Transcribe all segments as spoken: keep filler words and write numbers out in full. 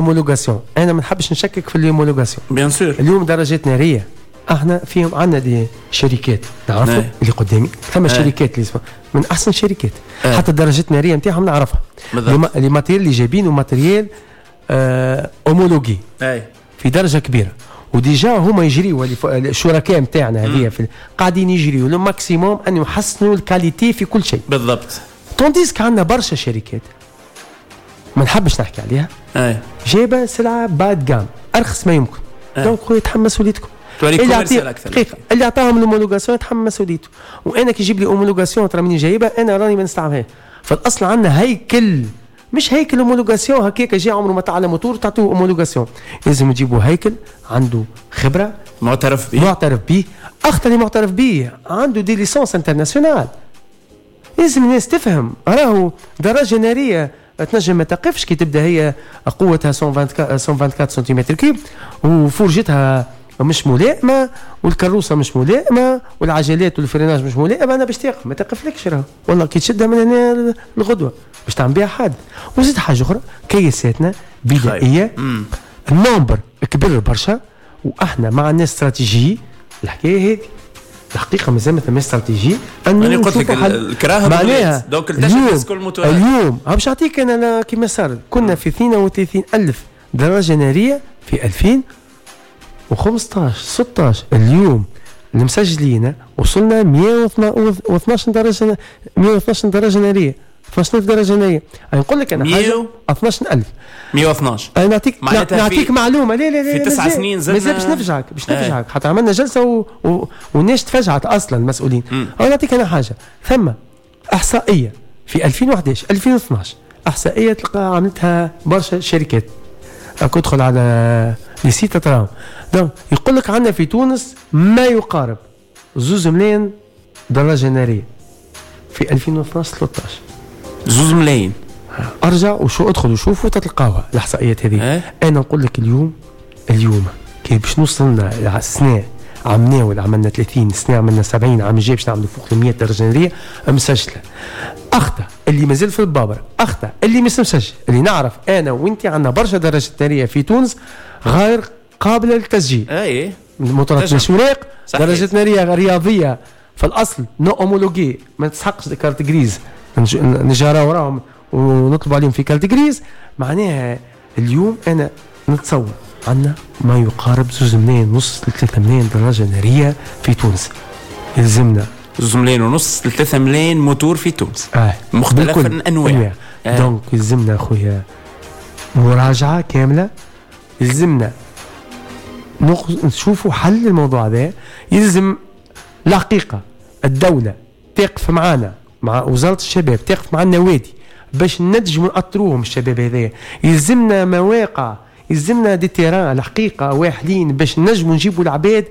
homologation. انا ما نحبش نشكك في ال homologation. bien sûr. اليوم درجات نارية احنا فيهم عندنا des شركات نعرفوا اللي قدامي، ثم شركات اللي من احسن شركات، حتى الدرجات النارية نتاعهم نعرفها، les matériels اللي جايبينه matériel آه homologué في درجه كبيرة، و déjà هما يجريوا الشركاء نتاعنا هذه قاعدين يجريوا le maximum ان يحسنوا ال qualité في كل شيء. بالضبط. tandis que عندنا برشا شركات ما نحبش نحكي عليها جايبه سلعه bas de gamme ارخص ما يمكن. donc خويا تحمل مسؤوليتكم. اللي اعطيه دقيقة اللي عطاهم ال homologation يتحمل مسؤوليته، وانا كي يجيب لي homologation ترى مني جايبها انا راني ما نستعملهاش. فالاصل عندنا هيكل، مش هيكل homologation هكاك جاي عمره ما تعلم موتور تعطوه homologation، لازم تجيبوا هيكل عنده خبره معترف به، معترف به، اخطر اللي معترف به عنده des licences internationales. لازم الناس تفهم راهو دراجة نارية تنجم ما تقفش كي تبدا هي قوتها مية وأربعة وعشرين centimètres cubes وفرجتها مش ملائمه والكروسه مش ملائمه والعجلات وال freinage مش ملائمه، انا باش تقف ما تقفلكش راهو والله كي تشدها من هنا الغدوه باش تعمل بها حادث. وزيد حاجة اخرى كيساتنا بدائية، ال nombre كبر برشا واحنا ما عندناش استراتيجية الحكاية هذه. الحقيقة مازال ما ثماش استراتيجية. انا قلت لك الكراهة معناها donc التشخيص كل موتورات. اليوم باش نعطيك انا كيما صار كنا في اثنين وثلاثين ألف دراجة نارية في ألفين وخمسطاش ستطاش، اليوم المسجلين وصلنا مية واثناش درجه، مية واثناش درجه نارية، اثناش ألف درجه نارية. انا نقول لك انا حاجة اثناش ألف مية واثناش. انا نعطيك نعطيك معلومة. لا لا لا في تسع سنين زدنا مازال باش نفجعك باش نفجعك حتى عملنا جلسه و... و... والناس تفجعت اصلا المسؤولين. انا نعطيك انا حاجة، ثم احصائية في ألفين وأحد عشر ألفين واثناش احصائية تلقى عملتها برشا شركات، تدخل على les sites تراهم، donc يقول لك عندنا في تونس ما يقارب زوز ملايين دراجة نارية في ألفين واثناش ثلاثة عشر. زوز ملايين. ارجع وشو ادخل وشوفوا تتلقاوها الاحصائيات هذه. اه؟ انا نقول لك اليوم اليوم كي باش نوصلنا السنة عملنا عملنا ثلاثين سنة عملنا سبعين، عام الجاي باش نعملوا فوق مية درجه نارية مسجله. اخطا اللي مازال في البابر، اخطا اللي مش مسجل، اللي نعرف انا وانت عندنا برشا درجات نارية في تونس غير قابله للتسجيل. اي موتورات مش وراق، درجات نارية رياضية في الاصل non homologuée، ما تسحقش carte grise، نجارة وراهم ونطلب عليهم في carte grise. معناها اليوم انا نتصور عندنا ما يقارب زوز ملايين ونص لثلاثة ملايين دراجة نارية في تونس. يلزمنا زوز ملايين ونص لثلاثة ملايين موتور في تونس. آه. مختلف الأنواع. آه. donc يلزمنا خويا مراجعة كاملة، يلزمنا نشوفوا حل الموضوع هذا. يلزم الحقيقة الدولة تقف معنا، مع وزارة الشباب تقف مع النوادي باش ننجموا نأطروهم الشباب هذايا. يلزمنا مواقع، يلزمنا des terrains الحقيقة واحلين باش نجموا نجيبوا العباد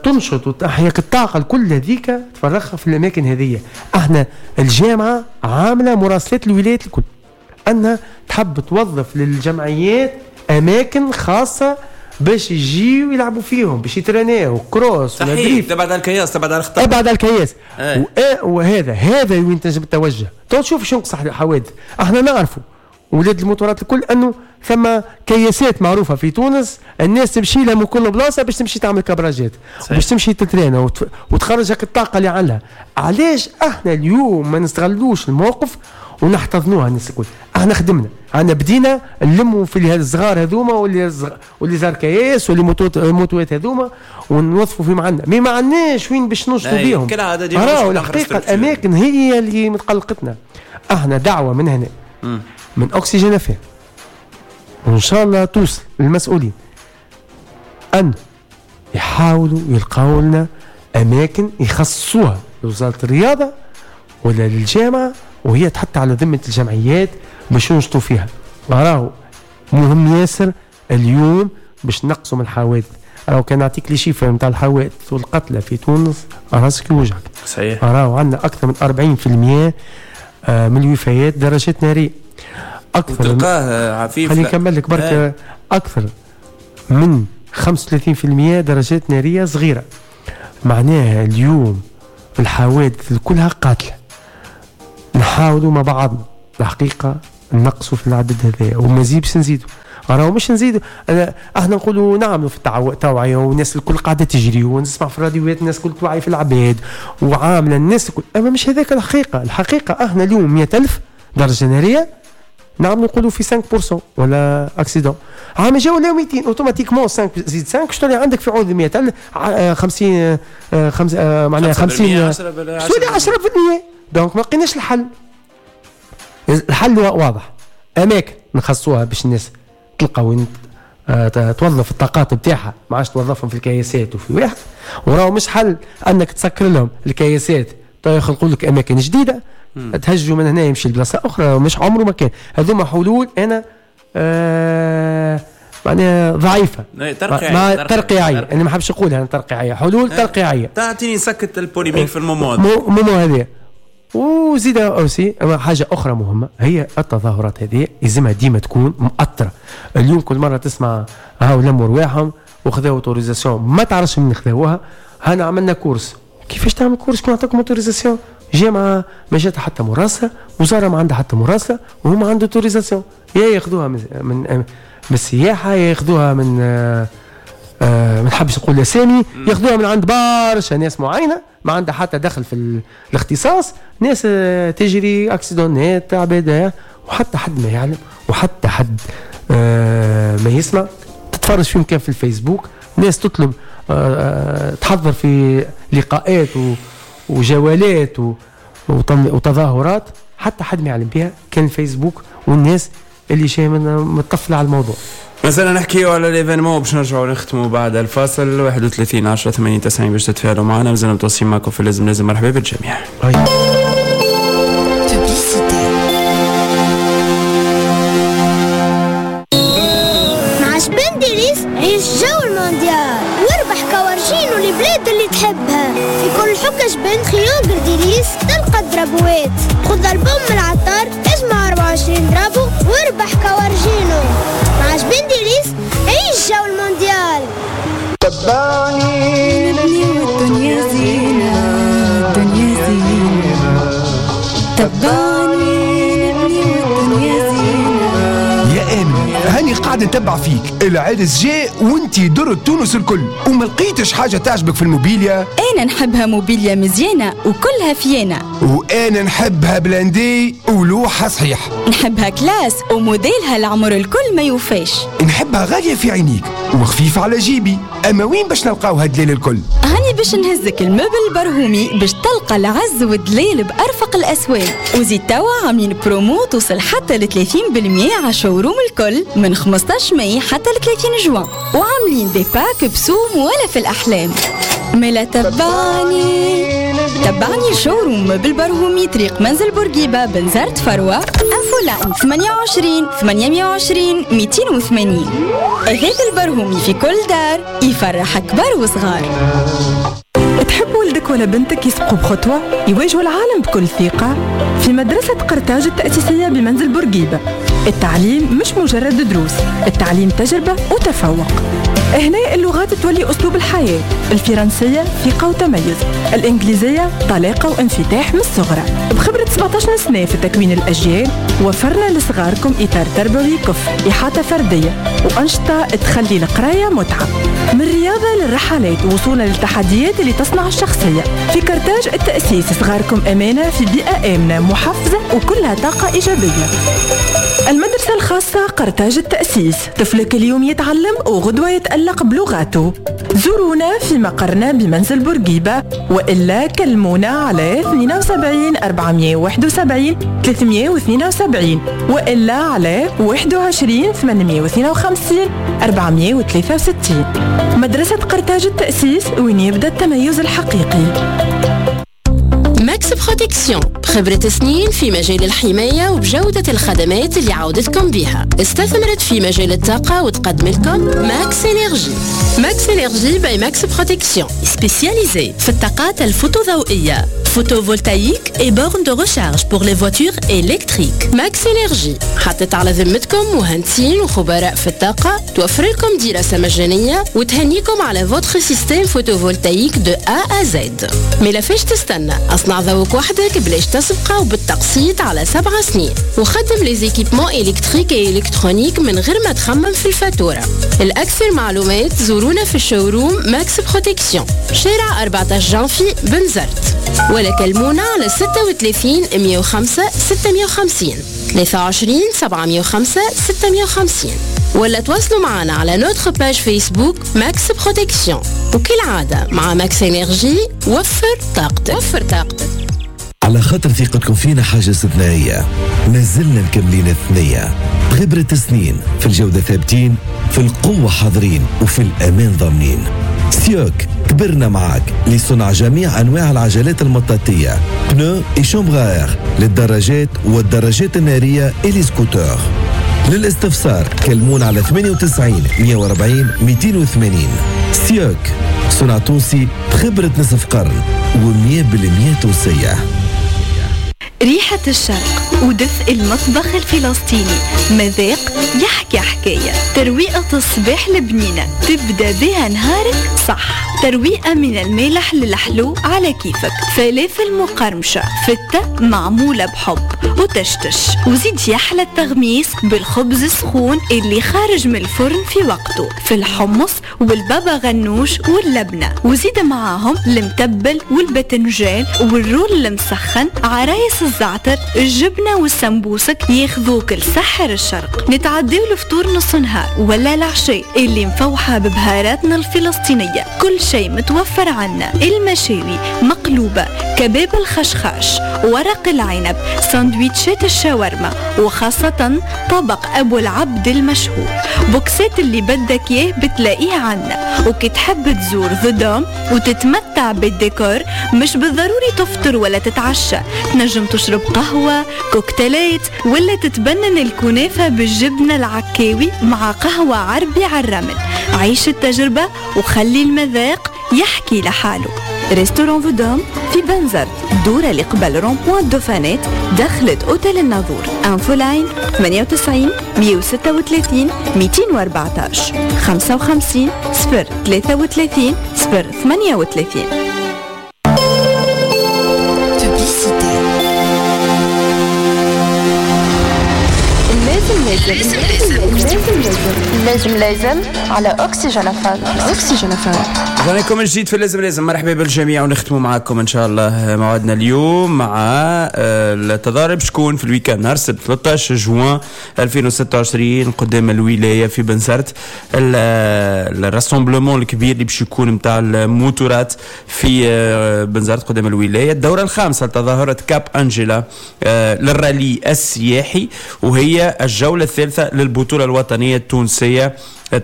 تنشط وتحيك الطاقة الكل هذيك تفرغها في الاماكن هذية. احنا الجامعة عامله مراسلات الولايات الكل انها تحب توظف للجمعيات اماكن خاصة باش يجيو يلعبوا فيهم، باش يتراناو cross ولا drift. تبعد على الكياس، تبعد على الخطر، تبعد على الكياس. اه. وهذا هذا وين تنجم التوجه. تو تشوف شو نقص الحوادث. احنا نعرفوا ولاد الموتورات الكل انه ثم كياسات معروفة في تونس الناس تمشي لها من كل بلاصة باش تمشي تعمل كبراجات باش تمشي تترينا وت... وتخرج هاك الطاقة اللي عندها. علاش احنا اليوم ما نستغلوش الموقف ونحتضنوها الناس الكل؟ احنا خدمنا، احنا بدينا نلموا في هاد الصغار هذوما واللي زغ... واللي زار كياس واللي موتوات هذوما ونوظفوا فيهم عندنا، mais ما عندناش وين باش نوصلوا بيهم. راهو الحقيقة الاماكن هي اللي متقلقتنا. احنا دعوه من هنا م. من أكسجين أف إم وإن شاء الله توصل للمسؤولين أن يحاولوا يلقاو لنا أماكن يخصصوها لوزارة الرياضة ولا للجامعة، وهي تحط على ذمة الجمعيات باش ينشطوا فيها. راهو مهم ياسر اليوم باش نقصوا من الحوادث. راهو كان نعطيك les chiffres نتاع الحوادث والقتلى في تونس راسك يوجعك. صحيح. راهو عندنا أكثر من أربعين بالمئة من الوفيات درجات نارية. أكثر تلقاه عفيف. خليني نكمل لك برك. أكثر من خمسة وثلاثين بالمئة درجات نارية صغيرة. معناها اليوم الحوادث كلها قاتلة. نحاولوا مع بعضنا الحقيقة نقصوا في العدد هذا ومازال باش نزيدوا. راهو مش نزيدوا، احنا نقولوا نعملوا في التوعية والناس الكل قاعدة تجري ونسمع في الراديوات الناس الكل توعي في العباد وعامله الناس الكل، اما مش هذاك الحقيقة. الحقيقة احنا اليوم مئة ألف درجه نارية نعملوا نقولوا في خمسة بالمية ولا accident، عام جاو ولاو مئتين automatiquement خمسة زيد خمسة شنو اللي عندك في عوض مئة ألف خمسين خمسة معناها خمسين تولي عشرة بالمية. donc ما لقيناش الحل. الحل واضح، اماكن نخصوها باش الناس تلقى وين توظف الطاقات بتاعها، ما عادش توظفهم في الكياسات وفي واحد. وراهو مش حل انك تسكر لهم الكياسات يخلقوا لك اماكن جديدة تهجوا من هنا يمشي لبلاصه اخرى، مش عمره ما كان. هذوما حلول انا آه معناها ضعيفة ترقيعيه ترقيعيه، انا ما حبش نقولها انا ترقيعيه، حلول ترقيعيه تعطيني سكت ال polémique في ال moment moment هذا. وزيد aussi حاجة اخرى مهمة هي التظاهرات هذه لازمها ديما تكون مؤطره. اليوم كل مرة تسمع هاو لموا رواحهم وخذاو autorisation ما تعرفش من خذاوها، هانا عملنا course. كيفاش تعمل course كون عطاكم autorisation؟ جامعه ما جات حتى مراسله، وزارة ما عندها حتى مراسله، وهما عندهم autorisation، يا ياخذوها من من, من السياحة، يا ياخذوها من آه آه ما نحبش نقول اسامي، ياخذوها من عند برشا ناس معينة ما عندها حتى دخل في الاختصاص، ناس آه تجري accident ات عبادها وحتى حد ما يعلم وحتى حد آه ما يسمع. تتفرج فيهم كان في الفيسبوك، ناس تطلب آه تحضر في لقاءات وجوالات وتظاهرات حتى حد ما يعلم بها كان الفيسبوك والناس اللي شايفه متطفله على الموضوع. مثلا نحكيو على l'événement باش نرجعوا نختموا بعد الفاصل. واحد وثلاثين عشرة ثمانين تسعين باش تتفاعلوا معنا، مازلنا متواصلين معكم في لازم لازم. مرحبا بالجميع. مع جبن ديليس عيش جو المونديال واربح كوارجين والبلاد اللي تحبها. في كل حكة جبن triangle ديليس تلقى درابوات. خذ البوم من العطار اجمع أربعة وعشرين drapeau واربح كوارجينو. مع جبن ديليس عيش جو المونديال. تبعني نبني والدنيا زينة، الدنيا زينة. تبعني نبني والدنيا زينة. يا آمنة هاني قاعد نتبع فيك، العرس جاء وانتي درت تونس الكل وما لقيتش حاجة تعجبك في الموبيليا. أنا نحبها موبيليا مزيانة وكلها فيانة، وأنا نحبها blindée ولوحة صحيح، نحبها classe وموديلها العمر الكل ما يوفاش، نحبها غالية في عينيك وخفيفة على جيبي. أما وين باش نلقاو هالدليل الكل؟ هاني باش نهزك ال meuble برهومي باش تلقى العز والدليل بأرفق الأسواق. وزيد توا عاملين برومو توصل حتى ل ثلاثين بالمية على showroom الكل من خمسطاش ماي حتى ل ثلاثين جوان، وعاملين des packs بسوم ولا في الأحلام. ملا تبعني تبعني showroom بالبرهومي طريق منزل بورقيبة بنزرت فروة. infoline ثمانية وعشرين ثمانمية وعشرين مئتين وثمانين. أثاث البرهومي في كل دار يفرح كبار وصغار. تحب ولدك ولا بنتك يسبقوا بخطوة يواجهوا العالم بكل ثقة؟ في مدرسة قرطاج التأسيسية بمنزل بورقيبة التعليم مش مجرد دروس، التعليم تجربة وتفوق. هنا اللغات تولي أسلوب الحياة، الفرنسية ثقة وتميز، الإنجليزية طلاقة وانفتاح من الصغرى. بخبرة سبعة عشر سنة في تكوين الأجيال وفرنا لصغاركم إطار تربوي كفء، إحاطة فردية وأنشطة تخلي القراية متعة، من الرياضة للرحلات وصولا للتحديات اللي تصنع الشخصية. في قرطاج التأسيس صغاركم أمانة في بيئة آمنة محفزة وكلها طاقة إيجابية. المدرسة الخاصة قرطاج التأسيس، طفلك اليوم يتعلم وغدوة يتألق بلغاته. زورونا في مقرنا بمنزل بورقيبة وإلا كلمونا على اثنين وسبعين أربعمية وواحد وسبعين ثلاثمية واثنين وسبعين وإلا على واحد وعشرين ثمانمية واثنين وخمسين أربعمية وثلاثة وستين. مدرسة قرطاج التأسيس، وين يبدأ التميز الحقيقي. Max Protection بخبرة سنين في مجال الحماية وبجودة الخدمات اللي عودتكم بها، استثمرت في مجال الطاقة وتقدم لكم Max Énergie. Max Énergie by Max Protection spécialisée في الطاقات الفوتوضوئية، photovoltaïque et bornes de recharge pour les voitures électriques. Max Énergie حطت على ذمتكم مهندسين وخبراء في الطاقة، توفر لكم دراسة مجانية وتهنيكم على votre système photovoltaïque de A à Z. ملفاش تستنى، اصنع ذوق وحدك بلاش تسبقة وبالتقسيط على سبع سنين، وخدم les équipements électriques et électroniques من غير ما تخمم في الفاتورة. الأكثر معلومات زورونا في ال showroom Max Protection، شارع أربعة عشر جانفي بنزرت، ولا كلمونا على ستة وثلاثين مئة وخمسة ستمئة وخمسين ثلاثة وعشرين سبعمئة وخمسة ستمئة وخمسين، ولا تواصلوا معنا على notre page Facebook Max Protection. وكالعادة مع Max Énergie وفر طاقتك، وفر طاقتك. على خاطر ثقتكم فينا حاجة استثنائية، مازلنا مكملين الثنية بخبرة سنين، في الجودة ثابتين، في القوة حاضرين، وفي الأمان ضامنين. سيوك كبرنا معاك لصنع جميع أنواع العجلات المطاطية، pneus et chambres à air للدراجات والدراجات النارية et les scooters. للاستفسار كلمونا على ثمانية وتسعين مئة وأربعين مئتين وثمانين. سيوك صنع تونسي بخبرة نصف قرن ومية بالمية تونسية. ريحة الشرق ودفء المطبخ الفلسطيني، مذاق يحكي حكاية. ترويقة الصباح البنينة تبدأ بها نهارك صح. ترويقة من المالح للحلو على كيفك، فلافل مقرمشة، فتة معمولة بحب وتشتش، وزيد يحلى التغميس بالخبز السخون اللي خارج من الفرن في وقته، في الحمص والبابا غنوش واللبنة، وزيد معاهم المتبل والبتنجان وال roll المسخن، عرايس الزعتر، الجبنة والسمبوسك ياخذوك لسحر الشرق. نتعديو الفطور نص نهار ولا العشاء اللي مفوحة ببهاراتنا الفلسطينية، كل شيء متوفر عنا. المشاوي مقلوبة، كباب الخشخاش، ورق العنب، ساندويتشات الشاورما، وخاصة طبق أبو العبد المشهور. بوكسات اللي بدك إياه بتلاقيه عنا. وكي تحب تزور The Dome وتتمتع بالديكور، مش بالضروري تفطر ولا تتعشى، تنجم تشرب قهوة، كوكتيلات، ولا تتبنن الكنافة بالجبنة العكاوي مع قهوة عربي على الرمل. عيش التجربة وخلي المذاق يحكي لحاله. restaurant The Dome في بنزرت، دورة اللي قبل rond-point دوفانات، دخلت اوتيل الناظور. infoline ثمانية وتسعين مئة وستة وثلاثين مئتين وأربعة عشر خمسة وخمسين صفر ثلاثة وثلاثين صفر ثمانية وثلاثين. لازم لازم لازم لازم على أكسجين فان. أكسجين فان. رجعنا جديد في لازم لازم. مرحبا بالجميع ونختموا معكم ان شاء الله موعدنا اليوم مع التضارب شكون في ال week-end نهار السبت ثلاثة عشر جوان ألفين وستة وعشرين قدام الولاية في بنزرت، ال rassemblement الكبير اللي باش يكون نتاع الموتورات في بنزرت قدام الولاية، الدورة الخامسة لتظاهره كاب انجيلا للرالي السياحي، وهي الجولة الثالثة للبطولة الوطنية التونسية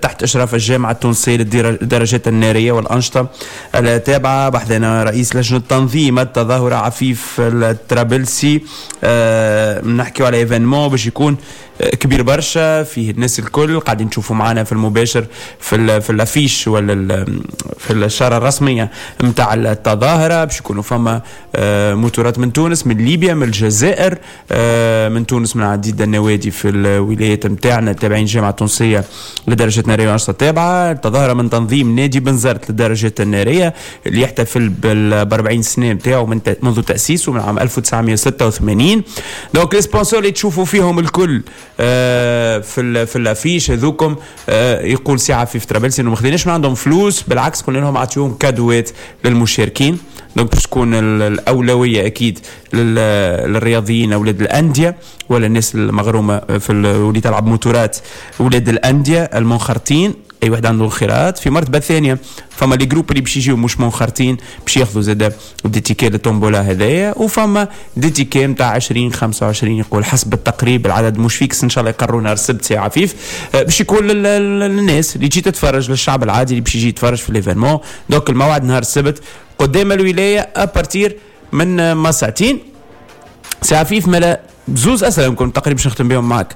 تحت إشراف الجامعة التونسية للدراجات النارية والأنشطة التابعة. بحثنا رئيس لجنة تنظيم التظاهرة عفيف الترابلسي. أه نحكيو على événement باش يكون كبير برشا، فيه الناس الكل قاعدين تشوفوا معنا في المباشر في في l'affiche ولا في الشارة الرسمية نتاع التظاهرة. باش يكونوا فما موتورات من تونس، من ليبيا، من الجزائر، من تونس من عديد النوادي في الولايات نتاعنا تابعين الجامعة التونسية لدرجات النارية والأنشطة التابعة. التظاهرة من تنظيم نادي بنزرت للدرجات النارية اللي يحتفل بال أربعين سنة نتاعو من منذ تأسيسه من عام ألف وتسعمئة وستة وثمانين. donc les sponsors اللي تشوفوا فيهم الكل في في l'affiche هذوكم، يقول سي عفيف ترابلسي انه ما خديناش من عندهم فلوس، بالعكس قلنا لهم عطيوهم كادوات للمشاركين. donc باش تكون الاولوية اكيد للرياضيين اولاد الاندية ولا الناس المغرومه في واللي تلعب موتورات، اولاد الاندية المنخرطين، اي واحد عنده انخراط. في مرتبه ثانية فما les groupes اللي باش يجيو مش منخرطين باش ياخذوا زاد des tickets لل tombola هذايا، وفما des tickets نتاع عشرين خمسة وعشرين يقول حسب التقريب، العدد مش fixe، ان شاء الله يقرروا نهار السبت سي عفيف، باش يكون للناس اللي تجي تتفرج، للشعب العادي اللي باش يجي يتفرج في l'événement. donc الموعد نهار السبت قدام الولاية à partir من ما ساعتين. سي عفيف ملا زوز اسئلة يمكن تقريبا باش نختم بهم معك.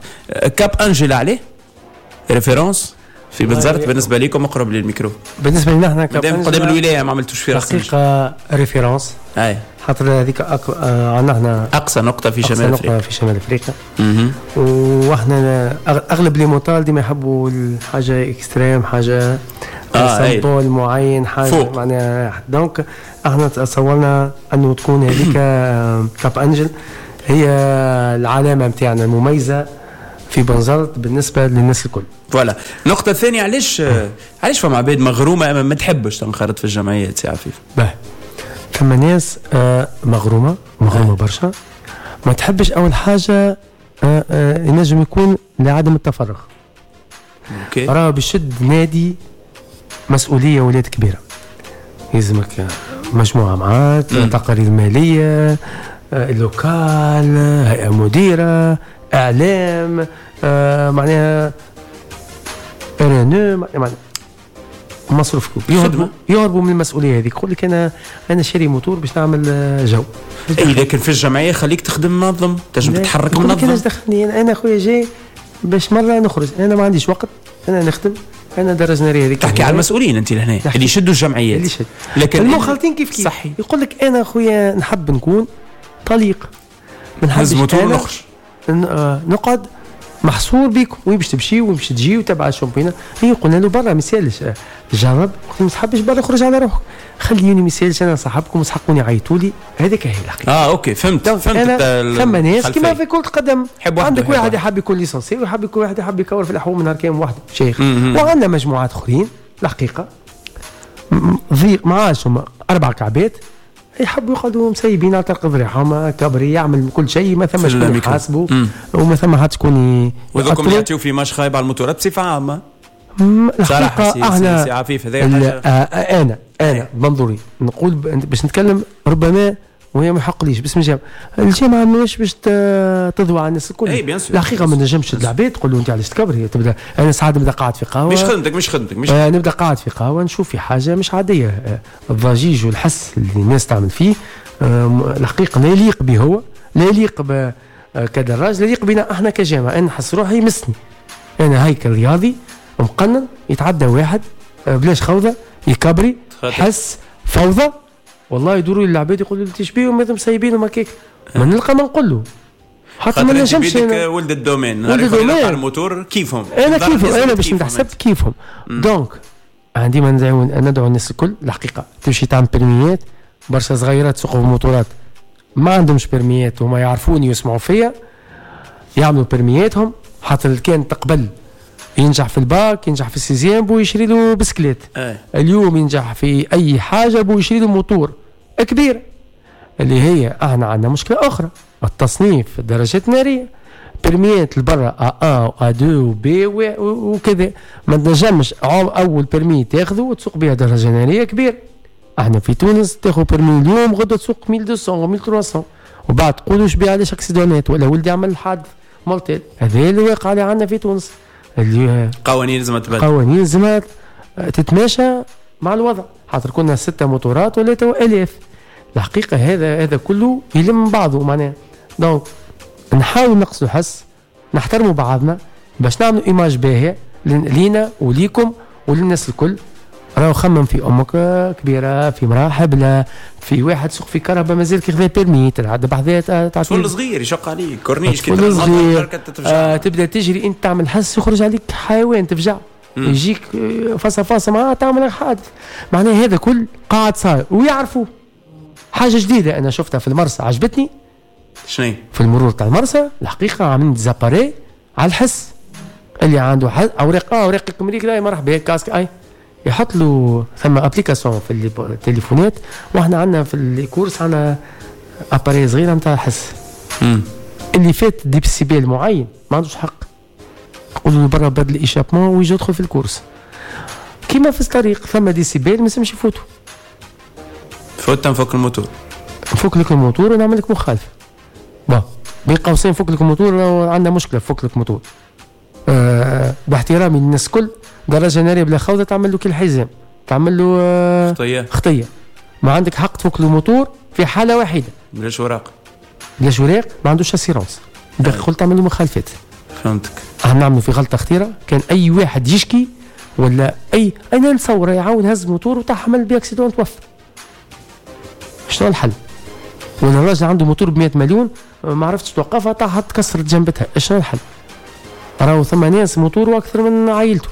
كاب انجيلا عليه référence في بنزرت بالنسبة لكم؟ اقرب للميكرو. بالنسبة لنا احنا قدام قدام الولاية ما عملتوش في راس الحقيقة référence، اي خاطر هذيك أك... عندنا احنا اقصى نقطة في شمال افريقيا، في شمال افريقيا. واحنا اغلب les motards ديما يحبوا الحاجة extrême، حاجة آه symbole معين، حاجة فوق. معناها donc احنا تصورنا انه تكون هذيك كاب انجل هي العلامة نتاعنا المميزة في بنزرت بالنسبة للناس الكل. voilà. النقطة الثانية، علاش علاش فما عباد مغرومه اما ما تحبش تنخرط في الجمعيات سي عفيف؟ باه فما ناس آه مغرومه مغرومه برشا ما تحبش. اول حاجة آه آه ينجم يكون لعدم التفرغ. okay. راه بشد نادي مسؤولية ولاد كبيرة، يلزمك مجموعة معاك، تقارير ماليه، آه، local، هيئة مديره، اعلام، آه، معناها رانو، معناها مصروف كبير. يهربوا يهربوا من المسؤولية هذيك. يقول لك انا انا شاري موتور باش نعمل جو. اي لكن في الجمعية خليك تخدم منظم، تنجم تتحرك منظم. انا دخلني انا خويا جاي باش مرة نخرج، انا ما عنديش وقت، انا نخدم، انا درجه نارية هذيك. تحكي على المسؤولين انت لهنا اللي يشدوا الجمعيات، اللي يشد. لكن المخالطين كيف كيف صحي. يقول لك انا خويا نحب نكون طليق، ما نحبش موتور نخرج، نقعد محصور بيكم، وين باش تمشي وين باش تجي وتبع ال championnat. هي قلنا له برا ما يسالش، جرب، ما تحبش برا خرج على روحك، خليني ما يسالش انا صاحبكم وصحقوني عيطوا لي. هذيك هي الحقيقة. اه okay فهمت فهمت. ثم ناس كيما في كرة القدم، عندك واحد يحب يكون licencié ويحب يكون واحد يحب يكور في الحوم نهار كامل واحد شيخ. وعندنا مجموعات اخرين الحقيقة ضيق معاش، هما اربع كعبات يحبوا يقعدوا مسيبين على طريق ذريعهم، كبري يعمل كل شيء، ما ثم شكون يحاسبوا وما ثم حد شكون. وذوكم يعطيو في ماش خايب على الموتورات بصفة عامة. الحقيقة احنا سي عفيف هذا حاجة. انا انا بمنظوري نقول باش نتكلم ربما وهي ما يحقليش باسم الجامعة، الجامعة ماهيش باش تضوى على الناس الكل. الحقيقة ما نجمش العباد تقول له انت علاش تكبر. تبدا انا ساعات نبدا قاعد في قهوة، مش خدمتك مش خدمتك مش آه نبدا قاعد في قهوة نشوف في حاجة مش عادية، الضجيج والحس اللي الناس تعمل فيه آه الحقيقة لا يليق به، هو لا يليق كدراج، لا يليق بنا احنا كجامعه. انا نحس روحي يمسني، انا هيكل رياضي مقنن، يتعدى واحد آه بلاش خوضه يكبري حس فوضى، والله يدوروا للعباد يقولوا لي تشبيهم ماذا مسيبينهم هكاك، ما نلقى ما نقول له حتى ما نجمش. ولد ال domaine ولد ال domaine الموتور كيفهم، انا كيفهم، انا باش نتحسب كيفهم. donc عندي ما ندعو ندعو الناس الكل الحقيقة تمشي تعمل permis ات. برشا صغيرات سوقوا بموتورات ما عندهمش permis ات وما يعرفوني ويسمعوا فيا، يعملوا permis اتهم حتى كان تقبل ينجح في الباك، ينجح في ال sixième بو يشري له بسكليت. أي. اليوم ينجح في اي حاجة بو يشري له موتور كبير. اللي هي احنا عندنا مشكلة اخرى، التصنيف الدرجات النارية، permis ات البرا A واحد و A اثنين و B وكذا، ما تنجمش اول permis تاخذه وتسوق بها درجه نارية كبير. احنا في تونس تاخذ permis اليوم غدا تسوق ألف ومئتين ألف وثلاثمية وبعد تقولوا شبيه علاش accident ات ولا ولدي عمل حادث mortel. هذا اللي واقع اللي عندنا في تونس. اللي قوانين لازم تبدل، قوانين لازم تتماشى مع الوضع، خاطر كنا ستة موتورات ولا تو آلاف. الحقيقة هذا هذا كله يلم بعضه معناها. donc نحاول نقصوا الحس، نحترموا بعضنا باش نعملوا image باهية لينا وليكم وللناس الكل. راهو خمم في امك كبيرة، في مراة حبلة، في واحد سوق في كرهبه مازال كي خذا permis تلعب بحذاه، طفل صغير يشق عليك كورنيش كي صغير آه تبدا تجري انت تعمل حس يخرج عليك حيوان تفجع، يجيك فاصه فاصه معاه تعمل حادث. معناها هذا كل قاعد صاير ويعرفوا. حاجة جديدة انا شفتها في المرسى عجبتني. شنو؟ في المرور تاع المرسى الحقيقة عاملين des appareils على الحس، اللي عنده اوراق اه اوراق الكمريك لا مرحبا casque اي يحط له ثم application في التليفونات، واحنا عندنا في ال course عندنا appareil صغيرة نتاع حس. مم. اللي فات ديسيبل معين ما عندوش حق، يقولوا له برا بدل échappement ويجي يدخل في ال course. كيما في الطريق ثم ديسيبل ما لازمش يفوتوا. فوت نفك الموتور، نفك لك الموتور ونعمل لك مخالفة. bon بين قوسين فك لك الموتور عندنا مشكلة، فك لك الموتور. أه باحترامي للناس الكل، درجه نارية بلا خوذه تعمل له كل حزام، تعمل له آه خطيه خطيه. ما عندك حق تفك له موتور في حاله واحدة، بلاش اوراق، بلاش اوراق، ما عندوش assurance، دخل تعمل له مخالفات. فهمتك. احنا نعملوا في غلطه خطيرة، كان اي واحد يشكي ولا اي انا نتصور يعاون هز موتور وطاح عمل بيه accident توفى. شنو الحل؟ ولا الراجل عنده موتور ب مية مليون ما عرفتش توقفها، طاحت تكسرت جنبتها، شنو الحل؟ راهو ثم ناس موتور اكثر من عائلته.